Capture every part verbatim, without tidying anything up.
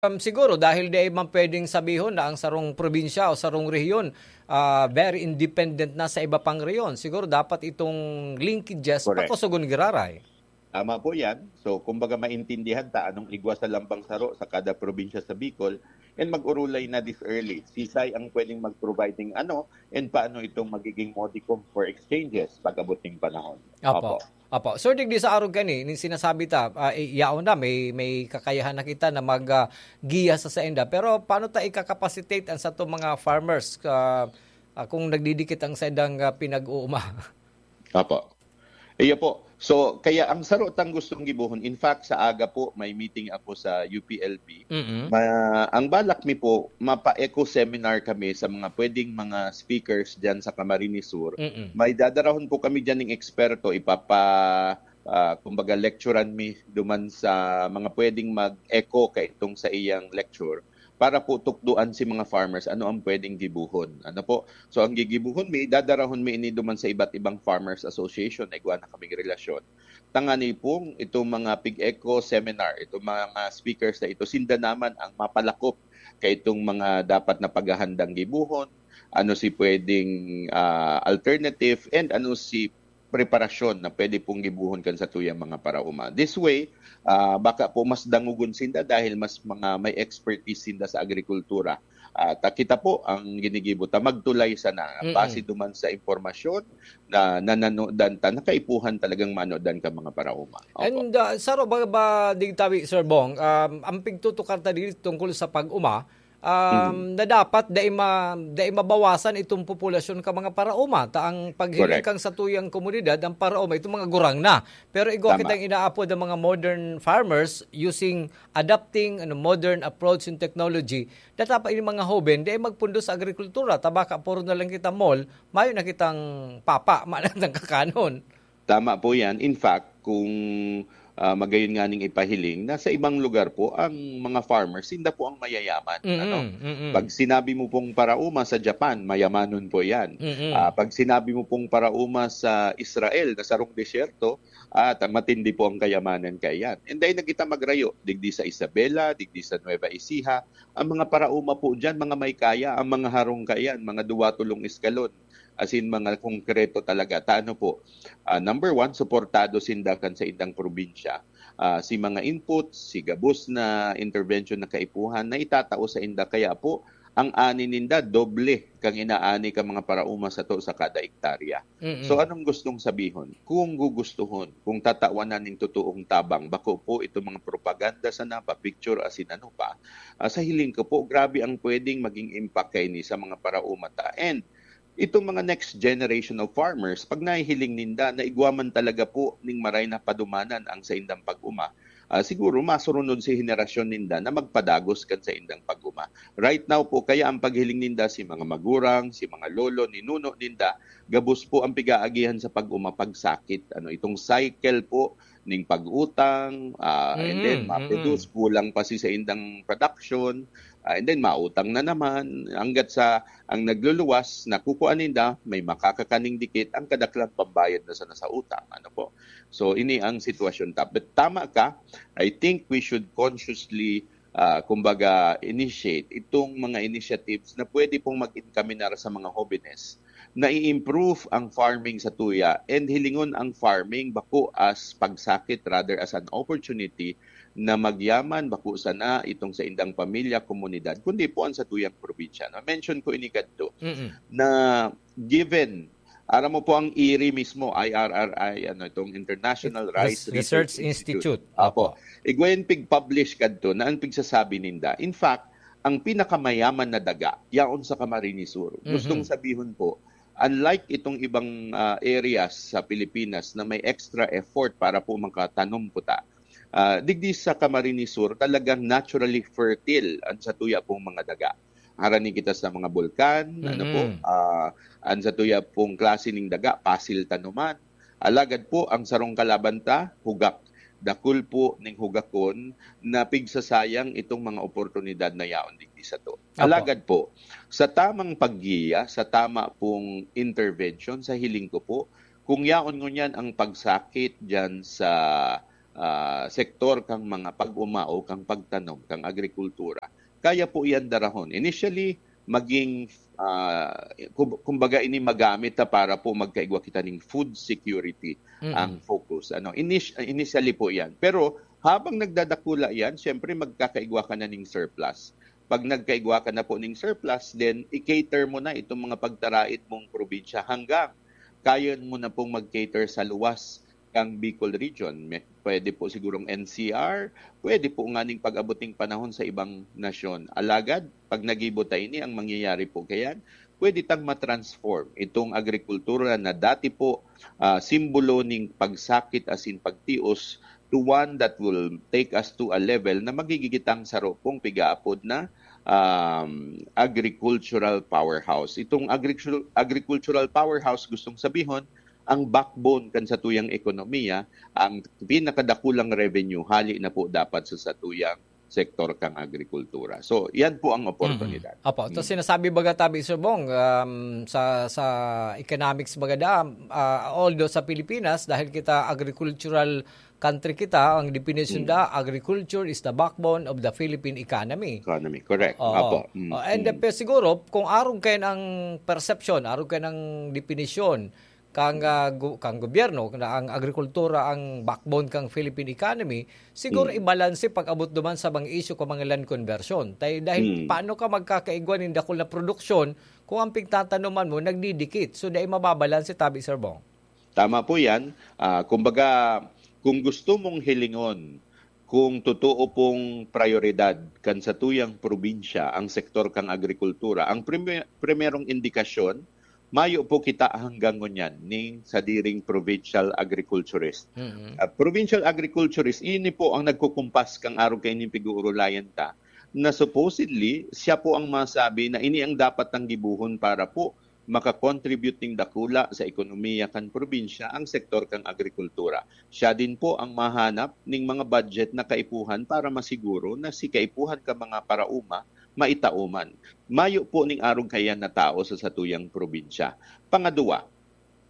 Um, siguro dahil di man pwedeng sabihon na ang sarong probinsya o sarong rehiyon, ah, very independent na sa iba pang rehiyon. Siguro dapat itong linkages Correct. pakosogon giraray. Tama po yan. So, kumbaga maintindihan ta anong igwa sa lambang saro sa kada probinsya sa Bicol and mag-urulay na this early. Sisay ang pwedeng mag-provide ng ano and paano itong magiging modicum for exchanges pag-abot ng panahon. Opo. Opo. Opo. Sir, digdi sa arog kani, nin sinasabi ta, ah, i-, yaon na, may, may kakayahan na kita na mag, ah, giya sa sainda. Pero paano ta ikakapacitate ang satong mga farmers, ah, ah, kung nagdidikit ang saindang, ah, pinag-uuma? Apo. Iyo po. So, kaya ang saro tang gustong gibohon, in fact, sa aga po, may meeting ako sa U P L B. Mm. Ma-, ang balak mi po, mapa-eco seminar kami sa mga pwedeng mga speakers dyan sa Camarines Sur. Mm. May dadarahon po kami dyan ng eksperto, ipapa-, ah, kumbaga, lecturean mi duman sa mga pwedeng mag-eco kaitong sa iyang lecture para po tukdoan si mga farmers ano ang pwedeng gibohon. Ano po? So, ang gigibohon mi, dadarahon mi ini duman sa iba't ibang farmers association na igwa na kaming relasyon. Tangani pong itong mga pig-eco seminar, itong mga speakers na ito, sinda naman ang mapalakop kaitong mga dapat na paghahandang gibohon, ano si pwedeng, ah, alternative, and ano si preparasyon na pwede pong gibohon kan satuyang mga paraoma. This way, ah, baka po mas dangogon sinda dahil mas mga may expertise sinda sa agrikultura. At, ah, kita po ang ginigibo ta, magtulay sana, Mm-mm. base duman sa impormasyon na nananodan ta, na kaipuhan talagang manodan kan mga paraoma. Opo. And, ah, saro ba, ba, digdi tabi, Sir Bong, um, ang pigtutukar ta diri tungkol sa pag-uma, um, Mm. na dapat dai ma-, dai mabawasan itong populasyon ka mga paraoma. Ta ang paghiling Correct. kang satuyang komunidad, ang paraoma, itong mga gurang na. Pero igwa Tama. kitang inaapod ang mga modern farmers using, adapting, ano, modern approach in technology. Dapat ini mga hoben, dai magpundo sa agrikultura. Ta baka puro na lang kita mall, mayo na kitang papa, mayo na kitang kakanon. Tama po yan. In fact, kung, ah, magayon nga ning ipahiling, nasa ibang lugar po ang mga farmers, sinda po ang mayayaman, Mm, ano? mm. Pag sinabi mo pong paraoma sa Japan, mayamanon po yan. Mm. Ah, pag sinabi mo pong paraoma sa Israel, na sarong disyerto, at ang matindi po ang kayamanan kaiyan. And then, nagita magrayo, digdi sa Isabela, digdi sa Nueva Ecija, ang mga paraoma po dyan, mga may kaya, ang mga harong kaiyan, mga duwa, tolong eskalon. As in, mga konkreto talaga. Ta ano po, ah, number one, suportado sinda kan sa indang probinsya. Ah, si mga inputs, si gabos na intervention na kaipuhan na itatao sa inda. Kaya po, ang ani ninda, doble kang inaani ka mga parauma sato sa kada ektarya. Mm-mm. So, anong gustong sabihon? Kung gugustuhon, kung tatawanan ning totoong tabang, bako po itong mga propaganda sana, pa-picture, asin ano pa, ah, sa hiling ko po, grabe ang pwedeng maging impact kaini sa mga parauma ta. And itong mga next generation of farmers, pag nahihiling ninda na igwa man talaga po ning maray na padumanan ang saindang pag-uma, ah, siguro masurunod si henerasyon ninda na magpadagos kan saindang pag-uma. Right now po, kaya ang paghiling ninda, si mga magurang, si mga lolo, ninuno ninda, gabos po ang pigaagihan sa pag-uma, pagsakit. Ano, itong cycle po ning pag-utang, ah, and then Mm, mm. maproduce, kulang pa si saindang production, ah, and then mautang na naman, hanggat sa ang nagluluwas, nakukuha ninda, may makakakaning dikit, ang kadaklan pambayad na sana sa utang. Ano po? So, ini ang sitwasyon. Ta-, but tama ka, I think we should consciously, ah, kumbaga, initiate itong mga initiatives na pwede pong mag-encaminar sa mga hobenes na i-improve ang farming sa tuya and hilingon ang farming bako as pagsakit, rather as an opportunity na magyaman bako sana itong sa indang pamilya, komunidad, kundi po ang sa tuyang probinsya. Na-mention ko ini kadto Mm-mm. na given, aram mo po ang iri mismo, I R R I, ano, itong International Rice Res-, Research Research Institute. Institute. Apo. Apo. Igwa yan pig-publish kadto na ang pigsasabi ninda. In fact, ang pinakamayaman na daga, yaon sa Camarines Sur. Mhm. Gustong sabihon po, unlike itong ibang, ah, areas sa Pilipinas na may extra effort para po makatanom po ta, ah, digdi sa Camarines Sur, talagang naturally fertile ang satuya pong mga daga. Harani kita sa mga bulkan, ano po, Mm-mm. ah, ang satuya pong klase ning daga, pasil tanuman. Alagad po, ang sarong kalaban ta, hugak. Dakul po ning hugakon na pigsasayang itong mga oportunidad na yaon digdi sato. Apo. Alagad po, sa tamang paggiya, sa tama pong intervention, sa hiling ko po, kung yaon ngunyan ang pagsakit diyan sa, ah, sektor kang mga pag-uma o kang pagtanom, kang agrikultura, kaya po iyan darahon. Initially, maging, ah, kum- kumbaga ini magamit ta para po magkaigwa kita ning food security Mm. ang focus. Ano, inis- initially po iyan. Pero habang nagdadakula iyan, siyempre magkakaigwa ka na ning surplus. Pag nagkaigwa ka na po ning surplus, then i-cater mo na itong mga pagtaraid mong probinsya hanggang kaya mo na pong mag-cater sa luwas kang Bicol region. May- Pwede po sigurong N C R, pwede po nganing pag-abot ning panahon sa ibang nasyon. Alagad, pag nagibo ta ini, ang mangyayari po kayan, pwede tang matransform itong agrikultura na dati po, ah, simbolo ning pagsakit asin pagtios to one that will take us to a level na magigigitang saro pong pigaapod na, um, agricultural powerhouse. Itong agricul- agricultural powerhouse, gustong sabihon, ang backbone kan satuyang ekonomiya, ang pinakadakulang revenue, hali na po dapat sa satuyang sektor kang agrikultura. So, yan po ang oportunidad. Apo, to sinasabi baga tabi, Sir Bong, um, sa sa economics baga da, uh, although sa Pilipinas, dahil kita agricultural country kita, ang definition da, agriculture is the backbone of the Philippine economy. Economy, correct. Oo. Apo. Mm, Oh, and mm. Pero siguro, kung arog kayo ang perception, arog kayo ang definisyon, kang, ah, gu- kang gobyerno, na ang agrikultura ang backbone kang Philippine economy, siguro Mm. ibalanse pag-abot duman sa mga isyu kung mga land conversion. Tay, dahil Mm. paano ka magkakaigwa nin dakul na produksyon kung ang pigtatanuman mo nagdidikit? So, dahil mababalanse tabi, Sir Bong. Tama po yan. Ah, kumbaga, kung gusto mong hilingon kung totoo pong prioridad kan satuyang probinsya ang sektor kang agrikultura, ang prime- primerong indikasyon, mayo po kita hanggang ngunyan ning sadiring provincial agriculturist. Mhm. Ah, provincial agriculturist, ini po ang nagkukumpas kang arog kaining pig-uurulayan ta, na supposedly, siya po ang masabi na ini ang dapat tang gibuhon para po makakontribute ning dakula sa ekonomiya kan probinsya ang sektor kang agrikultura. Siya din po ang mahanap ning mga budget na kaipuhan para masiguro na si kaipuhan ka mga parauma maitao man. Mayo po ning arog kaiyan na tao sa satuyang probinsya. Pangadwa,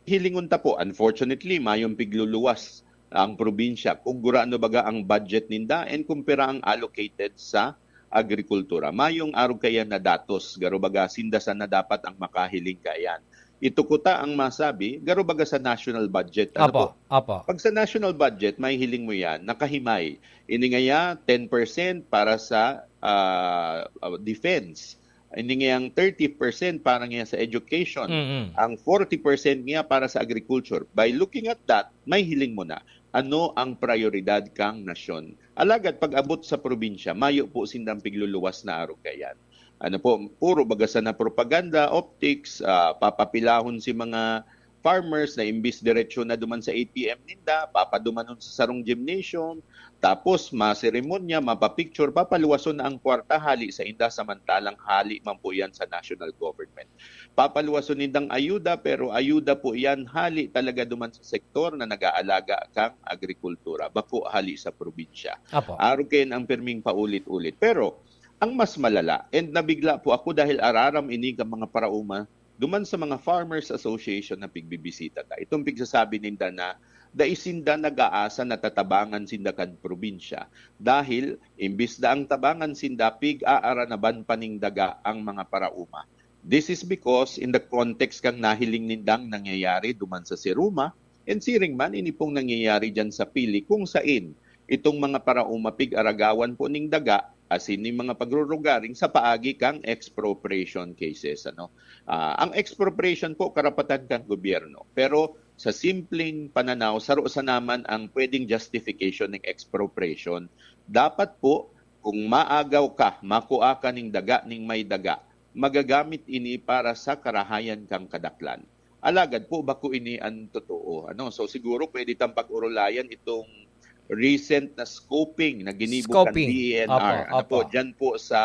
hilingon ta po, unfortunately, mayong pigluluwas ang probinsya. Kung gurano baga ang budget ninda and kung pira ang allocated sa agrikultura. Mayong arog kaiyan na datos, garo baga sinda sana dapat ang makahiling kaiyan. Itukuta ang masabi, garo baga sa national budget. Ano Apo, po? apo. Pag sa national budget, may hiling mo yan, nakahimay. Ini ngaya, ten percent para sa ah, ah, defense. Ini ngayang thirty percent para ngaya sa education. Mm-mm. Ang forty percent niya para sa agriculture. By looking at that, may hiling mo na ano ang prioridad kang nasyon. Alagad pag-abot sa probinsya, mayo po sindang pigluluwas na arog kaiyan. Ano po, puro baga sana propaganda, optics, ah, papapilahon si mga farmers na imbis diretsyo na duman sa A T M ninda, papadumanon sa sarong gymnasium, tapos maseremonya, mapapicture, papaluwason na ang kwarta hali sa inda, samantalang hali man po yan sa national government. Papaluwason nindang ayuda, pero ayuda po yan hali talaga duman sa sektor na nag-aalaga kang agrikultura, bako hali sa probinsya. Apo. Arog kaiyan ang pirming paulit-ulit. Pero ang mas malala, and nabigla po ako dahil araram ini ka mga parauma duman sa mga Farmers Association na pigbibisita ta. Itong pigsasabi ninda na dai sinda nag-aasa na tatabangan sinda kan probinsya dahil imbis na ang tabangan sinda, pig-aaranaban pa ning daga ang mga parauma. This is because in the context kang nahiling nindang nangyayari duman sa Siruma, and siring man ini pong nangyayari dyan sa Pili, kung sain itong mga parauma pig-aragawan po ning daga, asin ning mga pagrurugaring sa paagi kang expropriation cases, ano. Ah, ang expropriation po karapatan kang gobyerno, pero sa simpleng pananaw, saro sa naman ang pwedeng justification ng expropriation. Dapat po, kung maagaw ka, makua ka ning daga ning may daga, magagamit ini para sa karahayan kang kadaklan. Alagad po, bako ini an totoo. Ano? So siguro pwede tang pag-urulayan itong recent na scoping na ginibo kan Scoping. D E N R. Apo, Ano po, apo. Dyan po sa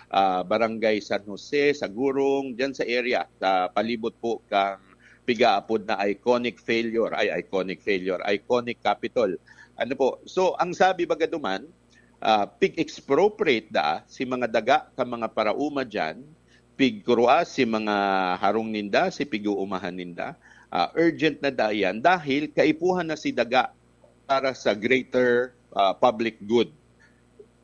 ah, Barangay San Jose, sa Gurong, dyan sa area, sa palibot po kang pigaapod na iconic failure, ay iconic failure, iconic capital. Ano po? So, ang sabi baga duman, ah, pig-expropriate da si mga daga ka mga parauma dyan, pigkurua si mga harong ninda, si pig-uumahan ninda. Ah, urgent na da yan dahil kaipuhan na si daga para sa greater, ah, public good.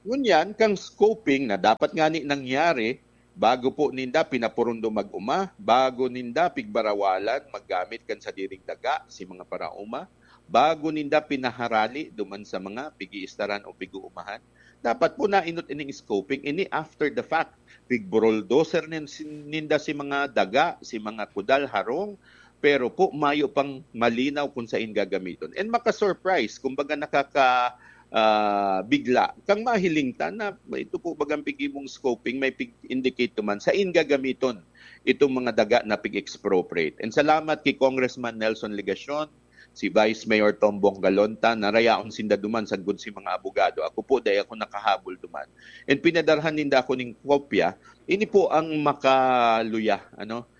Ngunyan, kang scoping na dapat ngani nangyari bago po ninda pinapurundo mag-uma, bago ninda pigbarawalan maggamit kan sadiring daga si mga parauma, bago ninda pinaharali duman sa mga pigiistaran o pig-uumahan, dapat po nainot ining scoping ini after the fact. Pigburuldoser nin-, sin-, ninda si mga daga, si mga kudal, harong, pero po mayo pang malinaw kung sain gagamiton. And maka-surprise, kumbaga nakaka-, ah, bigla kang mahiling ta na ito po bagang pigibong scoping, may pig-indicate man sain gagamiton itong mga daga na pig-expropriate. And salamat kay Congressman Nelson Legacion, si Vice Mayor Tom Bongalonta, narayaon sinda duman sagkod si mga abogado. Ako po, dai ako nakahabol duman. And pinadarhan ninda ako ning kopya. Ini po ang makaluya, ano,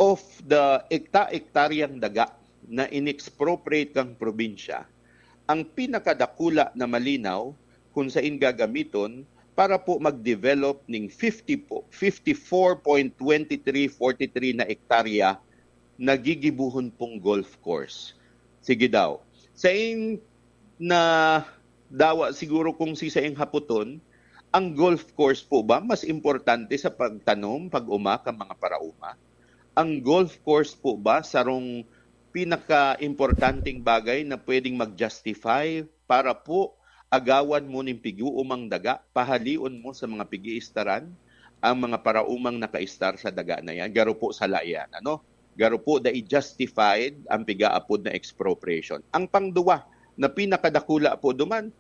of the ekta-ektaryang daga na inexpropriate kang probinsya. Ang pinakadakula na malinaw kung sain gagamiton para po mag-develop ning fifty po, fifty-four point twenty-three forty-three na ektarya na gigibohon pong golf course. Sige daw. Sain na dawa siguro kung si saing haputon, ang golf course po ba mas importante sa pagtanom, pag-uma kan mga parauma? Ang golf course po ba sarong pinaka-importanteng bagay na pwedeng mag-justify para po agawan mo nin pig-uumang daga, pahalion mo sa mga pig-iistaran ang mga paraumang nakaistar sa daga na yan? Garo po sala iyan, ano? Garo po dai justified ang pigaapod na expropriation. Ang pangduwa na pinakadakula po duman,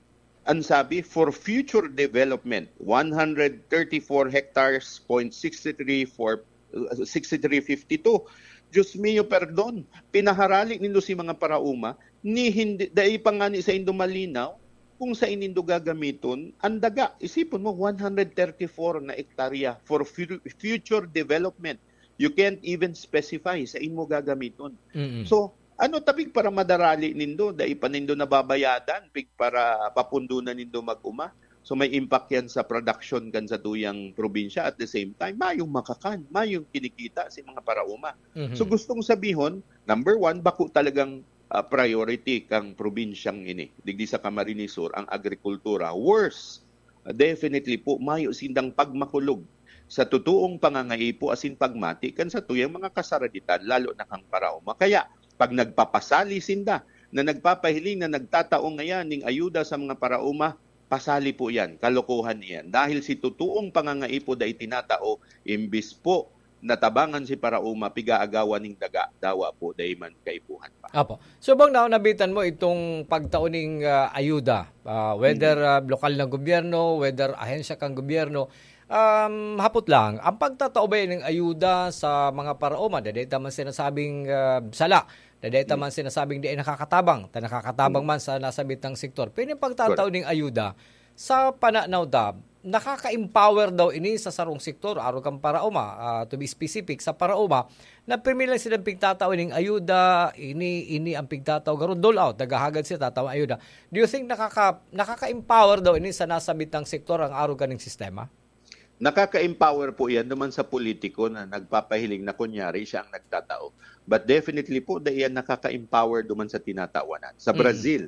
ang sabi, for future development, one hundred thirty-four hectares, point sixty-three for, uh, sixty-three fifty-two. Diyos mio, perdon, pinaharali nindo si mga parauma, ni hindi, dai pa ngani saindo malinaw kung sain nindo gagamiton ang daga. Isipon mo, one hundred thirty-four na ektarya for fu-, future development. You can't even specify sain mo gagamiton. Mm-mm. So, ano ta pig paramadarali nindo? Dai pa nindo nababayadan, pig para papundonan nindo mag-uma. So, may impact yan sa production kan satuyang probinsya. At the same time, mayong makakan, mayong kinikita si mga parauma. Mhm. So, gustong sabihon, number one, bako talagang, ah, priority kang probinsyang ini, digdi sa Camarines Sur, ang agrikultura. Worse, definitely po, mayo sindang pagmakulog sa totoong pangangaipo asin pagmati kan satuyang mga kasaraditan, lalo na kang parauma. Kaya, pag nagpapasali sinda na nagpapahiling na nagtatao ngayan ning ayuda sa mga parauma, pasali po yan, kalokohan iyan. Dahil si totoong pangangaipo dai tinatao, imbis po natabangan si parauma, pigaagawan ning daga, dawa po dai man kaipuhan pa. Apo. So, bang na nabitan mo itong pagtao ning, ah, ayuda, ah, whether, ah, lokal na gobyerno, whether ahensya kang gobyerno, um, hapot lang, ang pagtatao ba ning ayuda sa mga paraoma, dai ta man sinasabing, ah, sala, dai ta man sinasabing di ay nakakatabang, ta nakakatabang man sa nasabitang sektor. Pero yung pagtatao ning ayuda, sa pananaw ta, nakaka-empower daw ini sa sarong sektor, arog kan paraoma, ah, to be specific, sa paraoma, na pirmi lang silang pigtatao ning ayuda, ini, ini ang pigtatao, garo dole out, naghahagad sila, tatao ang ayuda. Do you think nakaka-, nakaka-empower daw ini sa nasabitang sektor ang arog kaning sistema? Nakaka-empower po yan naman sa politiko na nagpapahiling na kunyari siya ang nagtatao. But definitely po, dai yan nakaka-empower duman sa tinatawanan. Sa Mm. Brazil,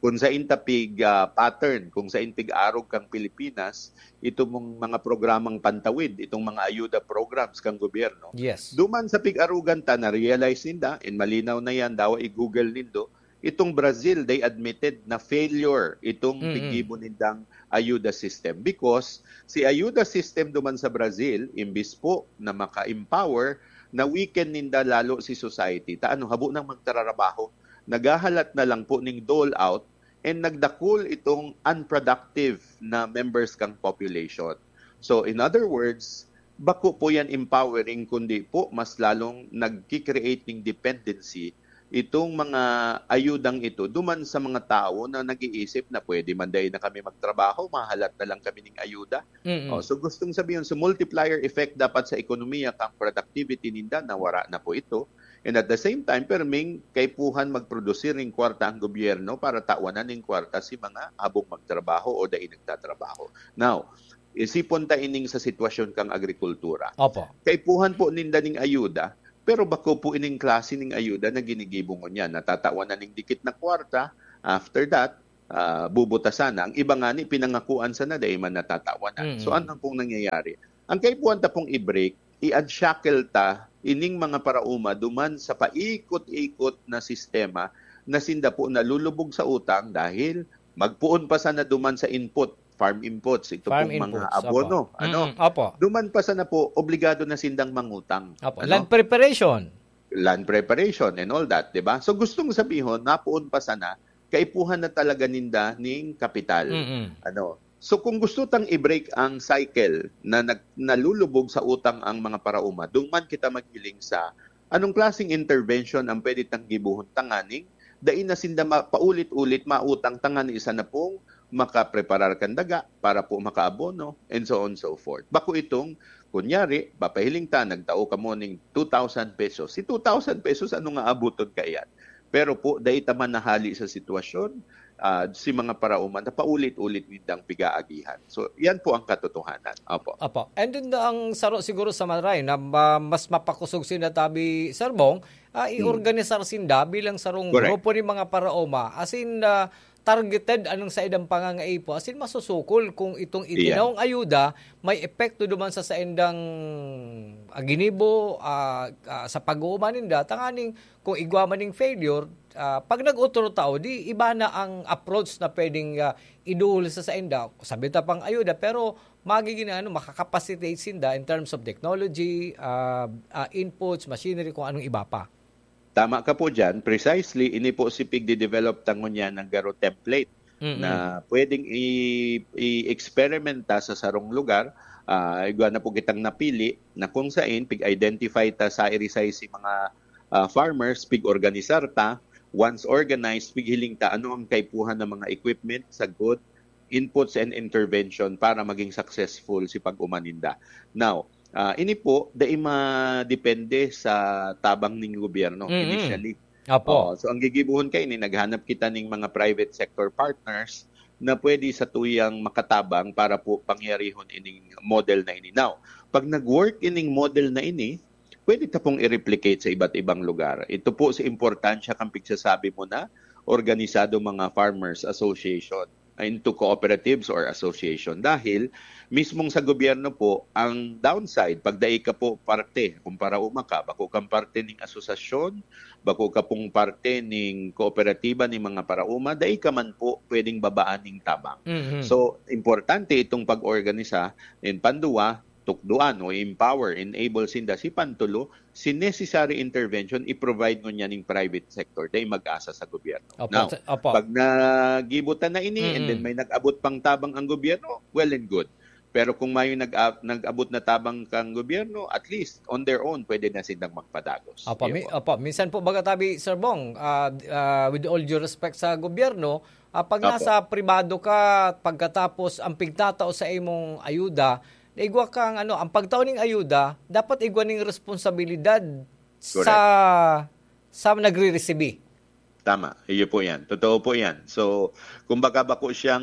kung sain ta pig, ah, pattern, kung sain pig-arog kang Pilipinas, ito mong mga programang pantawid, itong mga ayuda programs kang gobyerno, Yes. duman sa pig-arugan ta, na-realize ninda, and malinaw na yan, dawa i-Google nindo, itong Brazil, they admitted na failure itong Mm-mm. piggibo nindang ayuda system. Because si ayuda system duman sa Brazil, imbis po na maka-empower, na-weaken ninda lalo si society. Ta ano, habo nang magtrarabaho. Naghahalat na lang po ning dole out and nagdakul itong unproductive na members kang population. So, in other words, bako po yan empowering, kundi po mas lalong nagki-create ning dependency itong mga ayudang ito duman sa mga tawo na nag-iisip na pwede man dai na kami magtrabaho, mahalat na lang kami ning ayuda. Mm-mm. Oh, so gustong sabihin, so multiplier effect dapat sa ekonomiya kang productivity ninda, nawara na po ito. And at the same time, perming kaipuhan magprodusir ning kwarta ang gobyerno para tawanan ning kwarta si mga habong magtrabaho o dai nagtatrabaho. Now, isipon ta ining sa sitwasyon kang agrikultura. Opo. Kaipuhan po ninda ning ayuda, pero bako po ining klase ning ayuda na ginigibo ngunyan. Natatawanan ning dikit na kwarta, After that, ah, bubutasan na. Ang iba ngani, pinangakuan sana, dai man natatawanan. So, Mm. ano pong nangyayari? Ang kaipuhan ta pong i-break, i-unshackle ta ining mga paraoma duman sa paikot-ikot na sistema na sinda po nalulubog sa utang dahil magpoon pa sana duman sa input, farm inputs, ito Farm pong mga inputs, abono, opo. ano? Mm, opo. Duman pa sana po, obligado na sindang mangutang, Opo. ano? Land preparation. Land preparation and all that, di ba? So, gustong sabihon, napoon pa sana, kaipuhan na talaga ninda ning kapital. Mm-mm. Ano? So, kung gusto tang i-break ang cycle na nag-, nalulubog sa utang ang mga paraoma, duman kita maghiling sa anong klaseng intervention ang pwede tang gibohon tanganing dai na sinda ma-, paulit-ulit mautang tanganing isa na pong makapreparar kan daga para po makaabono, and so on and so forth. Bako itong, kunyari, papahiling ta, nagtao kamo ning two thousand pesos. Si two thousand pesos, ano nga abuton kaiyan? Pero po, dai ta man nahali sa sitwasyon, ah, si mga paraoma na paulit-ulit nindang pigaagihan. So, yan po ang katotohanan. Opo. Opo. And then, ang saro siguro sa maray na ma-, mas mapakosog sinda tabi, Sir Bong, ah, Hmm. i-organisar sinda bilang sarong Correct. grupo ni mga paraoma. As in, ah, targeted anong saindang pangangaipo. As in, masusukol kung itong Iya. itinawong ayuda may epekto duman sa saindang, ah, ginibo, ah, ah, sa pag-uuma ninda. Tanganing kung igwa man ning failure, ah, pag nag-otro tao, di iba na ang approach na pwedeng, ah, iduhol sa sainda. Sabi ta pang ayuda, pero magiging, ano, makakapacitate sinda in terms of technology, ah, ah, inputs, machinery, kung anong iba pa. Tama ka po dyan. Precisely, ini po si pigde-develop ta ngunyan ng garo template Mm-mm. na pwedeng i-, i-experimenta sa sarong lugar. Ah, igwa na po kitang napili na kung sain, pig-identify ta sa irisay si mga, ah, farmers, pig-organisar ta. Once organized, pighiling ta ano ang kaipuhan ng mga equipment, sagkod, inputs and intervention para maging successful si pag-umaninda. Now, ah, ini po, dai madepende sa tabang ning gobyerno Mm-mm. initially. Apo. Oo, so ang gigibohon kaini, naghanap kita ning mga private sector partners na pwede sa tuyang makatabang para po pangyarihon ining model na ini. Now, pag nag-work ining model na ini, pwede ta pong i-replicate sa iba't ibang lugar. Ito po sa importansya kan pigsasabi mo na organisado mga farmers association into cooperatives or association. Dahil mismong sa gobyerno po, ang downside, pag dai ka po parte, kung paraoma ka, bako kang parte ning asosasyon, bako ka pong parte ning kooperatiba ning mga paraoma, dai ka man po pwedeng babaan ning tabang. Mhm. So, importante itong pag-organisa. And panduwa, tukdoan o empower, enable sinda. Si pantulo, si necessary intervention, i-provide ngunyan ning private sector, dai mag-asa sa gobyerno. Opo, Now, sa-, opo. pag nagibutan na ini, and then Mm-mm. may nag-abot pang tabang ang gobyerno, well and good. Pero kung may nag-, nag-abot na tabang kang gobyerno, at least, on their own, pwede na silang magpadagos. Opo, Iyo mi-, po. opo. Minsan po, baga tabi, Sir Bong, ah, ah, with all due respect sa gobyerno, ah, pag Opo. nasa pribado ka, pagkatapos ang pigtatao sa imong ayuda, igwa kang, ano, ang pagtao ning ayuda, dapat igwa ning responsibilidad sa, Correct. sa nagre-resibi. Tama. Iyo po yan. Totoo po yan. So, kumbaga bako siyang,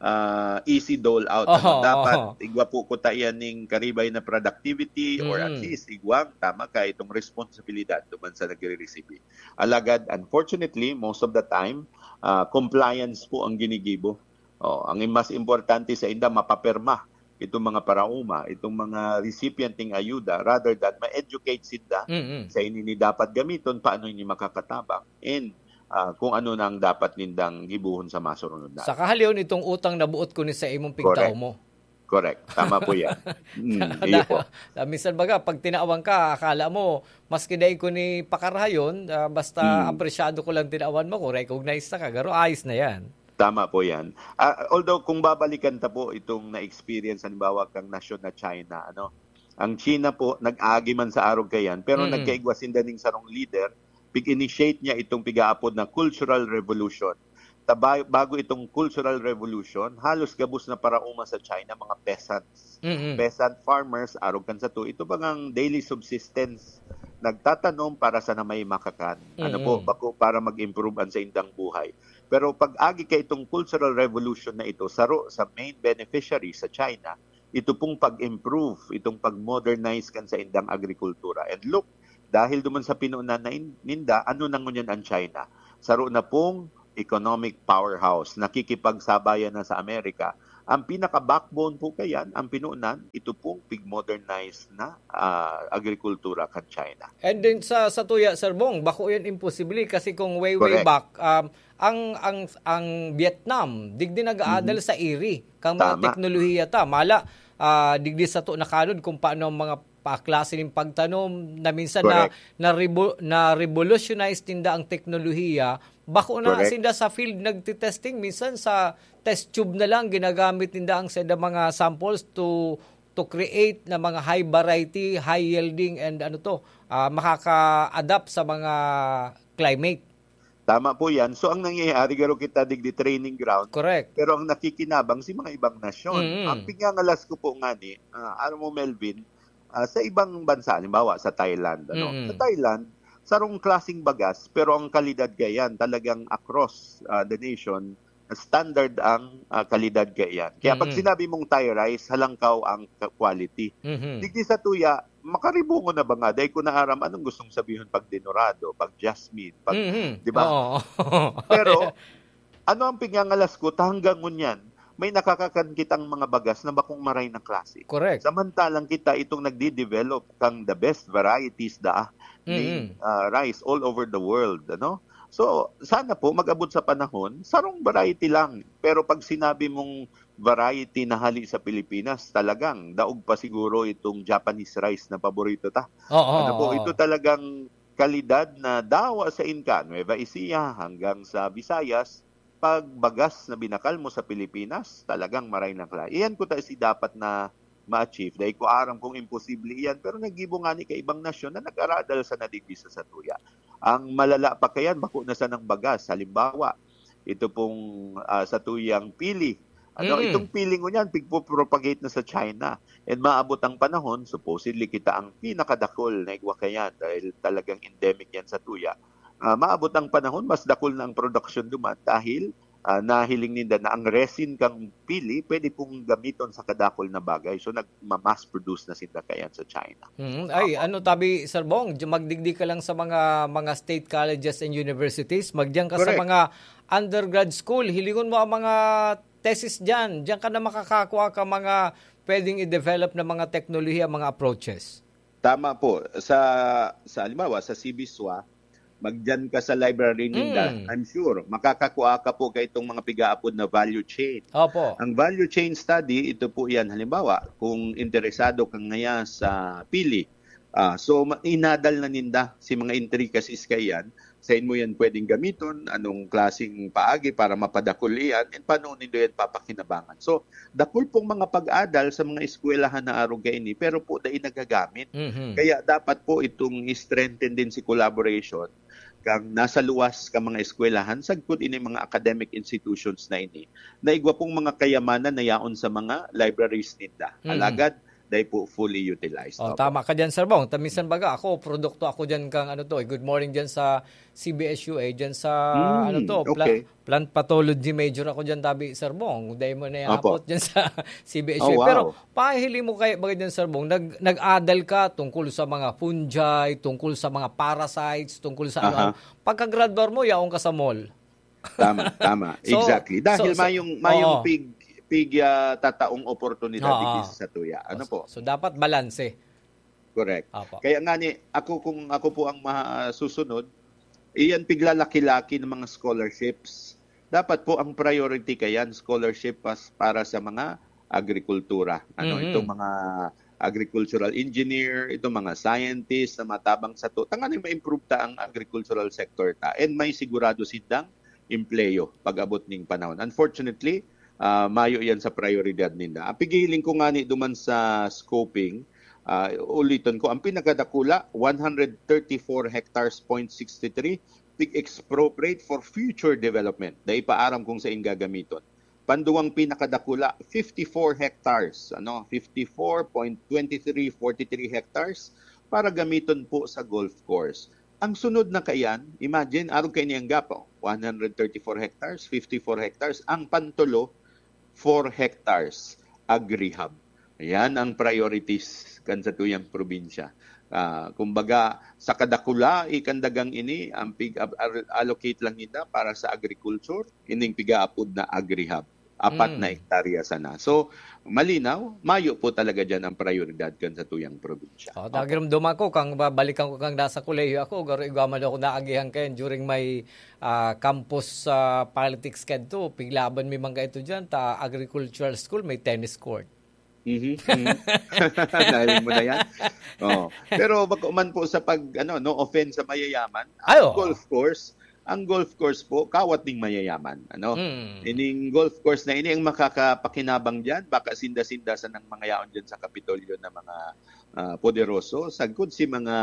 ah, easy dole out. Ano, Oho, dapat oho. igwa po ko ta iyan ning karibay na productivity or at Mm. least igwang tama ka itong responsibilidad duman sa nagre-resibi. Alagad, unfortunately, most of the time, ah, compliance po ang ginigibo. Oh, ang mas importante sa inda, mapapirma itong mga paraoma, itong mga recipient ning ayuda, rather than ma-educate sinda Mm-mm. sa ini ni dapat gamiton, paano ini makakatabang, and, ah, kung ano na ang dapat nindang gibohon sa masurunod na. Sa kahalihon, itong utang na buot ko ni sa imong pigtao Correct. mo. Correct. Tama po yan. Mm, iyo po. Da-, minsan baga, pag tinawan ka, akala mo, maski dai ko ni pakarahayon, ah, basta Mm. apresyado ko lang tinawan mo, kung recognize na ka, garo, ayos na yan. Tama po yan. Ah, although, kung babalikan ta po itong na-experience, halimbawa, kang nasyon na China, ano, ang China po, nag-agi man sa arog kayan, pero Mm. nagkaigwa sinda ning sarong leader, pig-initiate niya itong pigaapod na cultural revolution. Ta-, ba-, bago itong cultural revolution, halos gabos na paraoma sa China, mga peasants. Mm-mm. Peasant farmers, arog kan sato, ito bagang daily subsistence. Nagtatanom para sana may makakan. Ano po, Mm-mm. bako para mag-improve ang sa indang buhay. Pero pag agi ka itong cultural revolution na ito, saro sa main beneficiary sa China, ito pong pag-improve, itong pag-modernize kan sa indang agrikultura. And look, dahil duman sa pinunan na in-, ninda, ano na ngunyan ang China? Saro na pong economic powerhouse, nakikipagsabayan na sa Amerika. Ang pinaka-backbone po kayan, ang pinunan, ito pong pig-modernize na, ah, agrikultura kan China. And then sa, sa tuya, Sir Bong, bako yan imposible kasi kung way, way Correct. back, um, ang, ang, ang Vietnam, digdi nag-aadal Mhm. sa iri, kang mga Tama. teknolohiya ta. Mala, ah, digdi sato nakanod kung paano ang mga pa-, klase ning pagtanom na minsan na, Correct. na revo-, na revolutionize ninda ang teknolohiya. Bako na Correct. sinda sa field nagte-testing, minsan sa test tube na lang ginagamit ninda ang saindang mga samples to, to create na mga high variety, high yielding, and ano to, ah, makaka-adapt sa mga climate. Tama po yan. So, ang nangyayari, garo kita digdi training ground, Correct. pero ang nakikinabang si mga ibang nasyon. Mm. Ang pigngangalas ko po ngani, ah, aram mo, Melvin, ah, sa ibang bansa, halimbawa sa Thailand, ano? Mm. Sa Thailand, sarong klaseng bagas, pero ang kalidad gayan talagang across, ah, the nation, standard ang, ah, kalidad gayan. Kaya pag Mm. sinabi mong Thai rice, halangkaw ang ka-, quality. Mhm. Digdi sa tuya, makaribungon na ba nga? Dahil ko naaram, anong gustong sabihin pag denorado, pag jasmine, pag, Mhm. di ba? Oo. Pero, ano ang pigngangalas ko, ta hanggang ngunyan, may nakakakan kitang mga bagas na bakong maray na klase. Correct. Samantalang kita itong nagdi-develop kang the best varieties da ning, Mm-mm. ah, rice all over the world, ano? So, sana po mag-abot sa panahon, sarong variety lang. Pero pag sinabi mong variety na hali sa Pilipinas, talagang daog pa siguro itong Japanese rice na paborito ta. Oo, Ano po, oo. ito talagang kalidad na dawa sa inka, Nueva Ecija hanggang sa Visayas, pag bagas na binakal mo sa Pilipinas, talagang maray na klase. Iyan ko ta si dapat na ma-achieve. Dahil ko aram kung imposible iyan, pero naggibo nga ni kaibang nasyon na nag-aradal sa nadigdi sa satuya. Ang malala pa kayan, bako na sanang bagas. Halimbawa, ito pong, ah, satuyang pili. Ano, Mm. itong pili ngunyan, pigpo-propagate na sa China. And maabot ang panahon, supposedly kita ang pinakadakol na igwa kayan dahil talagang endemic yan sa tuya. Ah, maabot ang panahon, mas dakol na ang production duman dahil, ah, nahiling ninda na ang resin kang pili pwede pong gamiton sa kadakol na bagay. So, nagma-mass produce na sinda kayan sa China. Mm, ay, Opo. ano tabi, Sir Bong, di-, magdigdi ka lang sa mga, mga state colleges and universities, magdiyan ka sa Correct. mga undergrad school, hilingon mo ang mga thesis diyan, diyan ka na makakakua ka mga pwedeng i-develop na mga teknolohiya, mga approaches. Tama po. Sa, sa halimbawa, sa CBSUA, magdiyan ka sa library ninda, Mm. I'm sure, makakakua ka po ka itong mga pigaapod na value chain. Opo. Ang value chain study, ito po yan, halimbawa, kung interesado ka ngaya sa pili, ah, so, ma-, inadal na ninda si mga intricacies kaiyan, sain mo yan pwedeng gamiton, anong klaseng paagi para mapadakul iyan, and paano nindo yan papakinabangan. So, dakul pong mga pag-adal sa mga eskwelahan na arog kaini, pero po dai nagagamit. Mhm. Kaya dapat po itong i-strengthen din si collaboration kang nasa luwas ka mga eskwelahan, sagkod ini mga academic institutions na ini, na igwa pong mga kayamanan na yaon sa mga libraries ninda. Mhm. Alagad, dai po fully utilized. Oh, Opo. tama ka diyan, Sir Bong. Ta minsan baga ako, produkto ako diyan kang ano to, eh, Good Morning diyan sa C B S U A, diyan sa Hmm, ano to, pla-, okay. plant pathology major ako diyan, tabi, Sir Bong. Dai mo na Opo. iabot diyan sa C B S U A. Oh, wow. Pero pahiling mo kaya baga diyan, Sir Bong, nag-, nag-adal ka tungkol sa mga fungi, tungkol sa mga parasites, tungkol sa ano. Aha. Pagkagraduar mo, yaon ka sa mall. Tama, tama. So, Exactly. Dahil so, so, mayong, mayong oo. pig, pig, ah, tataong oportunidad Oo. digdi sa satuya. Ano So, po? so dapat balanse. Correct. Apo. Kaya nga ni, ako, kung ako po ang masusunod, iyan piglalaki-laki ng mga scholarships. Dapat po ang priority kayan, scholarship pas-, para sa mga agrikultura. Ano, Mm-mm. itong mga agricultural engineer, itong mga scientist na matabang sato, tanganing ma-improve ta ang agricultural sector ta. And may sigurado sindang empleyo pag-abot ning panahon. Unfortunately, ah, mayo yan sa prioridad ninda. Ang pigihiling ko ngani duman sa scoping, ah, uliton ko, ang pinakadakula, one hundred thirty-four hectares, point sixty-three, pig-expropriate for future development. Dai pa aram kung sain gagamiton. Panduwang pinakadakula, fifty-four hectares, ano, fifty-four point twenty-three forty-three hectares para gamiton po sa golf course. Ang sunod na kaiyan, imagine, arog kaini ang gap, oh, one hundred thirty-four hectares, fifty-four hectares. Ang pantulo, four hectares, agrihab. Yan ang priorities kan satuyang probinsya. Ah, kumbaga, sa kadakula, ikandagang ini, ang pig-allocate lang nila para sa agriculture, ining pigaapod na agri-hub. Apat na Mm. hektarya sana. So, malinaw, mayo po talaga dyan ang prioridad kan satuyang probinsya. Oh, Opo. Nagirumduma ko kang babalikan ko kang nasa kolehiyo ako, garo igwa man ako naagihan kayan during my, ah, campus, ah, politics kadto. Piglaban mi man kaito dyan, ta agricultural school, may tennis court. Mhm, mhm. Dahil mo na yan. Oh. Pero bako man po sa pag, ano, no offense sa mayayaman, Ay, ang oo. golf course, ang golf course po, kawat ning mayayaman. Ano? Mm. Ining golf course na ini ang makakapakinabang dyan, baka sinda-sinda sa nang mga yaon dyan sa Kapitolyo na mga, ah, poderoso. Sagkod si mga,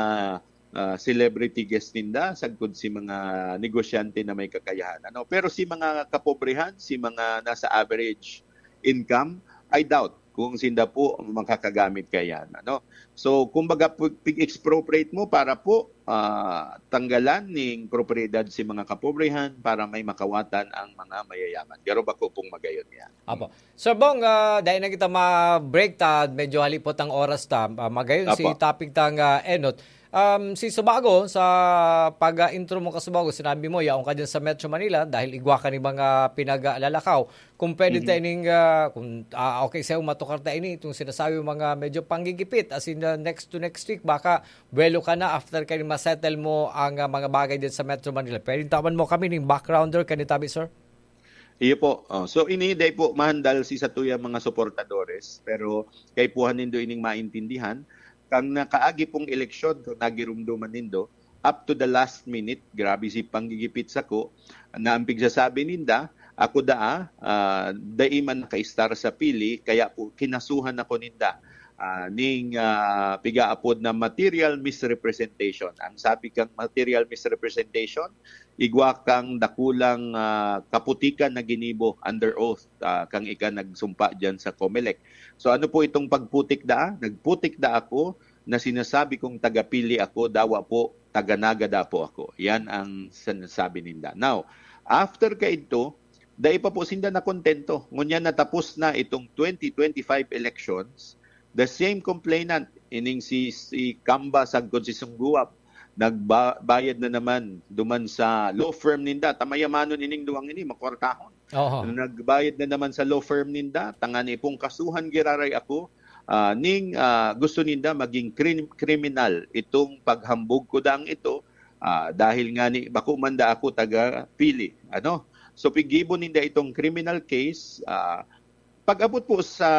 ah, celebrity guest ninda, sagkod si mga negosyante na may kakayahan. Ano? Pero si mga kapobrehan, si mga nasa average income, I doubt kung sinda po makakagamit kayan. Ano? So, kumbaga, pu-, pig-expropriate mo para po, ah, tanggalan ning propiedad si mga kapobrehan para may makawatan ang mga mayayaman. Garo bako pong magayon yan. Apo. Sir Bong, ah, dahil na kita ma-break ta, medyo halipot ang oras ta. Ah, magayon si Apo. topic ta nga enot. Um, si Subago, sa pag-intro mo ka Subago, sinabi mo, yaon ka dyan sa Metro Manila dahil igwa ka ni mga pinaglalakaw. Kung pwede Mhm. ta ining, ah, kung, ah, okay sa'yo, matukar ta ini, itong sinasabi mo mga medyo panggigipit, as in, ah, next to next week, baka buwelo ka na after kayo ma-settle mo ang, ah, mga bagay din sa Metro Manila. Pwede tawan mo kami ning backgrounder, kanitabi, sir? Iyo po. Oh, so, ini, dai po mahandal si satuyang mga suportadores, pero kaipuhan nindo ining maintindihan. Kang nakaagi pong eleksyon, kung nagirumduman nindo, up to the last minute, grabe si panggigipit sako, na ang pigsasabi ninda, ako daa, ah, dai man nakaistar sa pili, kaya po kinasuhan ako ninda, ah, ning, ah, pigaapod na material misrepresentation. Ang sabi kang material misrepresentation, igwa kang dakulang, ah, kaputikan na ginibo under oath, ah, kang ika nagsumpa diyan sa Comelec. So, ano po itong pagputik daa? Nagputik da ako na sinasabi kong tagapili ako, dawa po, taga Naga da po ako. Yan ang sinasabi ninda. Now, after kaidto, dai pa po sinda nakontento. Ngunyan natapos na itong twenty twenty-five elections, the same complainant, ining si, si Kamba sagkod si Sungguwab, nagba-, bayad na naman duman sa law firm ninda. Ta mayamanon ining duwang ini, makwartahon. Oho. Nagbayad na naman sa law firm ninda, tangani pong kasuhan giraray ako, ah, ning, ah, gusto ninda maging krim-, kriminal itong paghambog ko dang ito, ah, dahil nga ni, bako man da ako taga pili, ano? So, pigibo ninda itong criminal case, ah, pag-abot po sa,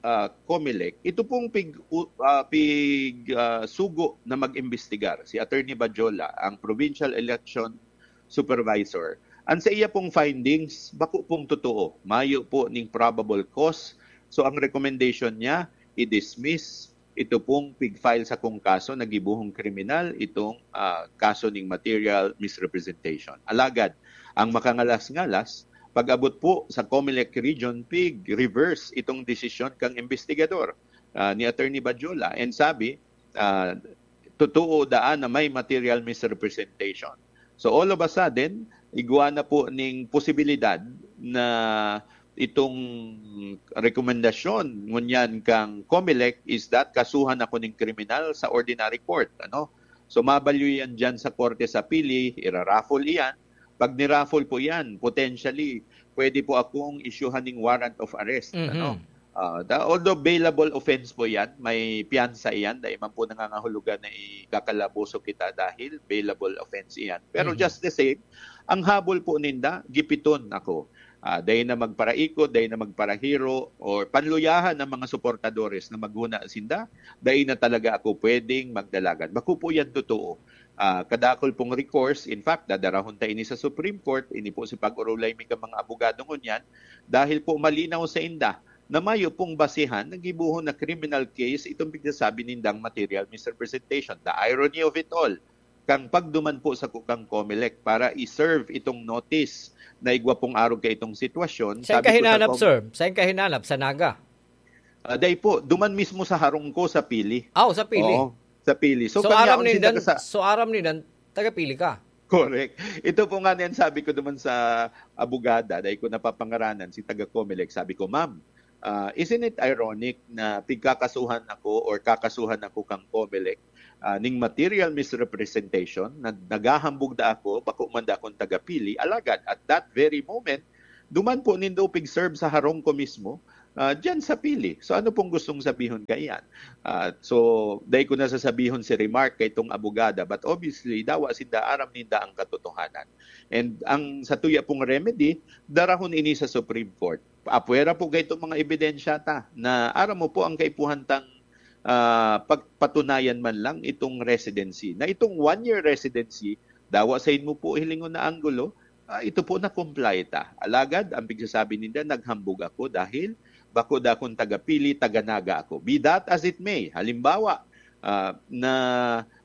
ah, Comelec, ito pong pig-, u-, ah, pig-, ah, sugo na mag-imbestigar, si Attorney Bajola, ang provincial election supervisor. Ang sa iya pong findings, bako pong totoo. Mayo po ning probable cause. So, ang recommendation niya, i-dismiss ito pong pig-file sa kong kaso na gibohong kriminal itong, ah, kaso ning material misrepresentation. Alagad, ang makangalas-ngalas, pag-abot po sa Comelec Region, pig-reverse itong desisyon kang investigador, ah, ni Attorney Bajola. And sabi, ah, totoo daan na may material misrepresentation. So all of a sudden, igwa na po ning posibilidad na itong rekomendasyon ngunyan kang Comelec is that kasuhan ako ning kriminal sa ordinary court, ano? So mabalyo yan dyan sa korte sa pili, iraraffle iyan. Pag niraffle po yan, potentially, pwede po akong isyuhan ning warrant of arrest, Mhm. ano? Ah, da-, although bailable offense po yan, may piyansa iyan, dai man po nangangahulugan na ikakalaboso kita dahil bailable offense iyan. Pero Mhm. just the same, ang habol po ninda, gipiton ako. Ah, dai na magparaikot, dai na magparahiro, or panluyahan ng mga suportadores na maghuna sinda, dai na talaga ako pwedeng magdalagan. Bako po yan totoo. Ah, kadakol pong recourse, in fact, dadarahon ta ini sa Supreme Court, ini po si pag-urulay mi ka mga abogado ngunyan, dahil po malinaw sa inda na mayo pong basihan na gibohon na criminal case itong pigsasabi nindang material misrepresentation. The irony of it all, kang pagduman po sa kukang Comelec para i-serve itong notice na igwa pong arog ka itong sitwasyon. Saan ka hinanap, sir? Saan ka hinanap? Sa Naga? Ah, dai po, duman mismo sa harong ko sa pili. Aw, sa pili. Oo, sa pili. So, So, kanya aram akong nindan, sinda ka sa so, aram nindan, taga-pili ka? Correct. Ito po nga niyan sabi ko duman sa abogada, dai ko napapangaranan, si taga Comelec. Sabi ko, "Ma'am, Ah, isn't it ironic na pigkakasuhan ako or kakasuhan ako kang Comelec, ah, ning material misrepresentation, na naghahambog da ako, bako man da akong tagapili, alagad at that very moment, duman po nindo pig-serve sa harong ko mismo, ah, diyan sa pili. So ano pong gustong sabihon kaiyan? Ah, so, dai ko na sasabihon si Remark kay itong abogada, but obviously, dawa sinda aram ninda ang katotohanan. And ang sa tuya pong remedy, darahon ini sa Supreme Court. Apwera po gaytong mga ebidensya ta na aram mo po ang kaipuhan tang, ah, pagpatunayan man lang itong residency. Na itong one-year residency, dawa sa inyo po hilingon na anggulo, ah, ito po na-comply ta. Alagad, ang pigsasabi ninda, naghambog ako dahil bako da akong tagapili, taga-Naga ako. Be that as it may, halimbawa, ah, na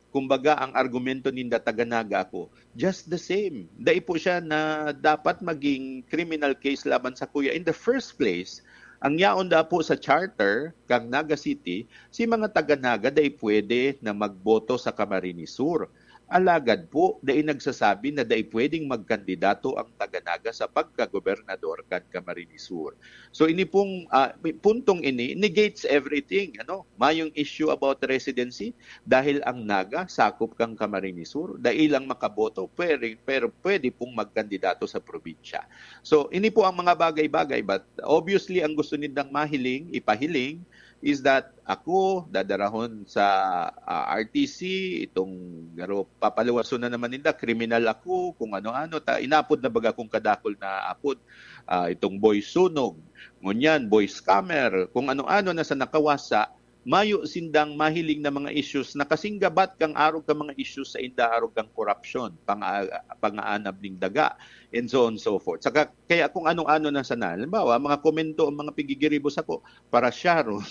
kumbaga ang argumento ninda, taga-Naga ako, just the same. Dai po siya na dapat maging criminal case laban sa kuya. In the first place, ang yaon da po sa charter kang Naga City, si mga taga-Naga dai pwede na magboto sa Camarines Sur. Alagad po, dai nagsasabi na dai pwedeng magkandidato ang taga-Naga sa pagkagobernador kan Camarines Sur. So ini pong, ah, puntong ini negates everything, ano? Mayong issue about residency dahil ang Naga sakop kang Camarines Sur, dai lang makaboto, pwede, pero pwede pong magkandidato sa probinsya. So ini po ang mga bagay-bagay, but obviously ang gusto nindang mahiling, ipahiling, is that ako dadarahon sa, ah, R T C, itong garo papaluwason na naman ninda, kriminal ako, kung ano-ano, ta inapod na baga kong kadakol na apod, ah, itong boy sunog, ngunyan, boy scammer, kung ano-ano na sa nakawasa, mayo sindang mahiling na mga issues na kasinggabat kang arog ka mga issues sa inda arog kang korupsyon, panga-, pangaanab ning daga, and so on and so forth. Saka, kaya kung ano-ano na sana, halimbawa, mga komento ang mga pigigiribo sako, para siya ron.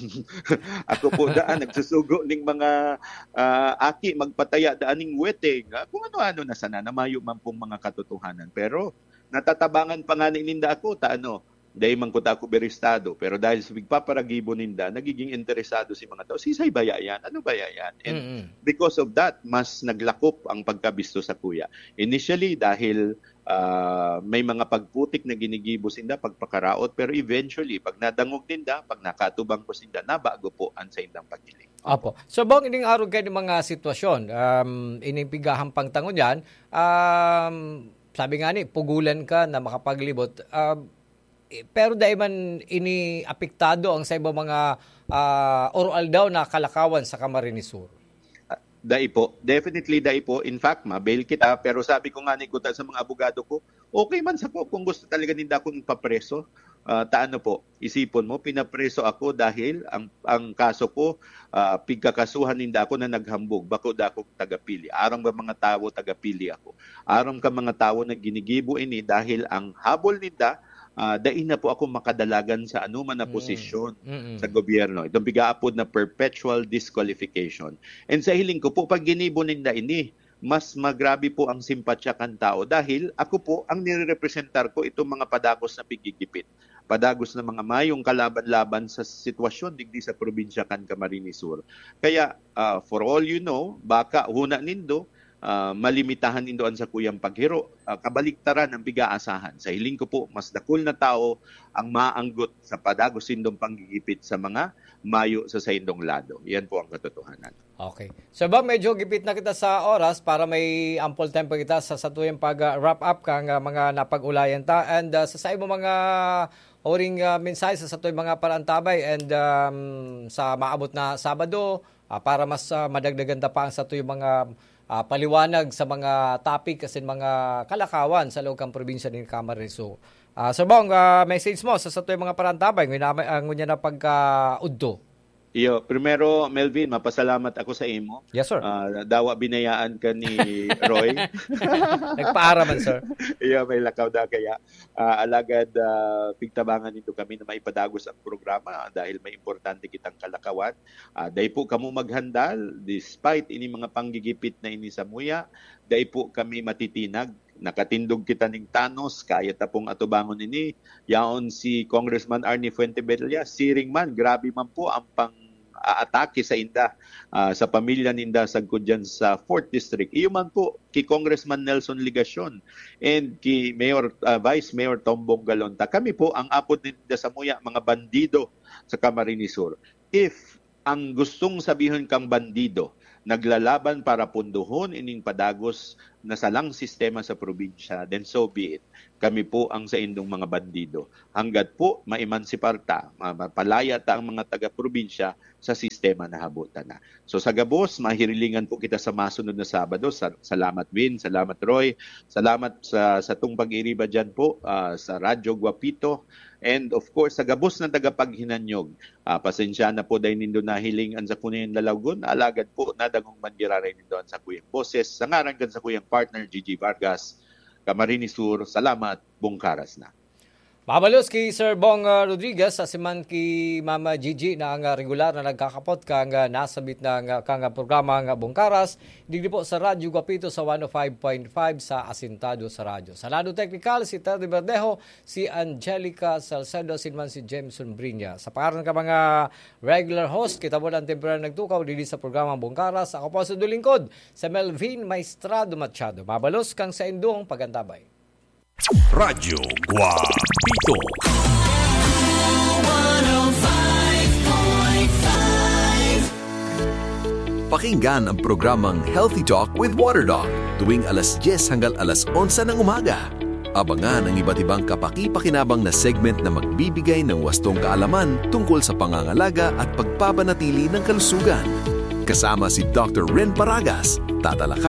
Ako po daan, nagsusugo ning mga, ah, aki, magpataya daan ning weteng, ah, kung ano-ano na sana, na mayo man pong mga katotohanan. Pero natatabangan pa nga ni ninda ako, ta ano, dai man kuta ako berestado, pero dahil sa pigpaparagibo ninda, nagiging interesado si mga tao, "Sisay baya yan? Ano baya yan?" And Mm-mm. because of that, mas naglakop ang pagkabisto sa kuya. Initially, dahil, ah, may mga pagputik na ginigibo sinda, pagpakaraot, pero eventually, pag nadangog ninda, pag nakatubang ko sinda, nabago po ang saindang paghiling. Opo. So, bang ining arog kayo ng mga sitwasyon, um, ining pigahampang tangon yan, um, sabi nga ni, pugulan ka na makapaglibot, um, eh, pero dai man ini apektado ang sa ibang mga, ah, oro-aldaw na kalakawan sa Camarines Sur? Ah, dai po. Definitely, dai po. In fact, ma-bail kita. Pero sabi ko nga ni kuta sa mga abogado ko, okay man sako kung gusto talaga ninda akong ipapreso. Ah, ta ano po, isipon mo, pinapreso ako dahil ang, ang kaso ko, ah, pigkakasuhan ninda ako na naghambog, bako da akong tagapili. Aram ka mga tawo, tagapili ako. Aram ka mga tawo na ginigibo ini dahil ang habol ninda, ah, dai na po ako makadalagan sa anuman na Mm. posisyon Mm-mm. sa gobyerno. Itong pigaapod na perpetual disqualification. And sa hiling ko po, pag ginibo ninda ini, mas magrabe po ang simpatya kan tao dahil ako po ang nirerepresentar ko itong mga padagos na pigigipit, padagos na mga mayong kalaban-laban sa sitwasyon digdi sa probinsya kan Camarines Sur. Kaya, ah, for all you know, baka huna nindo, ah, malimitahan nindo an sakuyang paghiro. Ah, kabaliktaran ang pig-aasahan. Sa hiling ko po, mas dakul na tao ang maanggot sa padagos nindong panggigipit sa mga mayo sa saindong lado. Yan po ang katotohanan. Okay. So ba, medyo gipit na kita sa oras para may ample time pa kita sa satuyang pag-wrap up kang, ah, mga napag-ulayan ta. And, ah, sa saimo mga huring, ah, mensahe sa satuyang mga paraantabay and, um, sa maabot na Sabado, ah, para mas, ah, madagdagan ta pa ang satuyang mga, ah, paliwanag sa mga topic asin mga kalakawan sa loob kan probinsya nin Camarines Sur. Ah, Sir Bong, ah, message mo sa satuyang mga paraantabay ngunyan, ah, ngunyan na pagkaudto. Iyo, primero, Melvin, mapasalamat ako sa imo. Yes, sir. Ah, dawa binayaan ka ni Roy. Nagpaaraman, sir. Iyo, may lakaw da kaya. Ah, alagad, ah, pigtabangan nindo kami na maipadagos ang programa dahil may importante kitang kalakawan. Ah, dai po kamo maghandal, despite ini mga panggigipit na ini samuya, dai po kami matitinag. Nakatindog kita ning tanos, kaya ta pong atubangon ini. Yaon si Congressman Arnie Fuentebella, siring man, grabe man po ang pang aatake sa inda, ah, sa pamilya ninda sagkod dyan sa fourth District. Iyo man po, ki Congressman Nelson Legacion and ki Mayor, ah, Vice Mayor Tom Bongalonta. Kami po, ang apod ninda samuya, mga bandido sa Camarines Sur. If ang gustong sabihon kang bandido naglalaban para punduhon ining padagos na salang sistema sa probinsya, then so be it. Kami po ang saindong mga bandido. Hanggat po maemansipar ta, ma-, mapalaya ta ang mga taga-probinsya sa sistema na habutan na. So sa gabos, mahirilingan po kita sa masunod na Sabado. Sa-, salamat, Win. Salamat, Roy. Salamat sa, sa tong pag-iriba dyan po, ah, sa Radyo Guapito. And of course, sa gabos na tagapaghinanyog, ah, pasensya na po dahil nindo nahiling ang sakuyang lalawgon, alagad po nadangog man giraray nindo ang sakuyang boses. Sa ngaran kan sakuyang partner, Gigi Vargas, Camarines Sur, salamat, bungkaras na. Mabalos ki Sir Bong, ah, Rodriguez, sa siman ki Mama Gigi na ang, ah, regular na nagkakapot kang, ah, nasabit na nga, kang, ah, programa nga Bungkaras, digdi po sa Radyo Guapito sa one oh five point five sa Asintado sa Radyo. Sa lado teknikal, si Teddy Verdejo, si Angelica Salcedo, asin man si Jameson Brinya. Sa pangaran ka mga regular host, kita mo lang temporary nagtukaw dili sa programa Bungkaras. Ako po sa dulingkod, sa Melvin Maestrado Machado. Mabalos kang sa indong pagantabay. Radyo Guapito. Pakinggan ang programang Healthy Talk with Water Doc tuwing alas dyes hanggang alas onse ng umaga. Abangan ang iba't ibang kapaki-pakinabang na segment na magbibigay ng wastong kaalaman tungkol sa pangangalaga at pagpapanatili ng kalusugan. Kasama si Doctor Ren Paragas, tatalakayin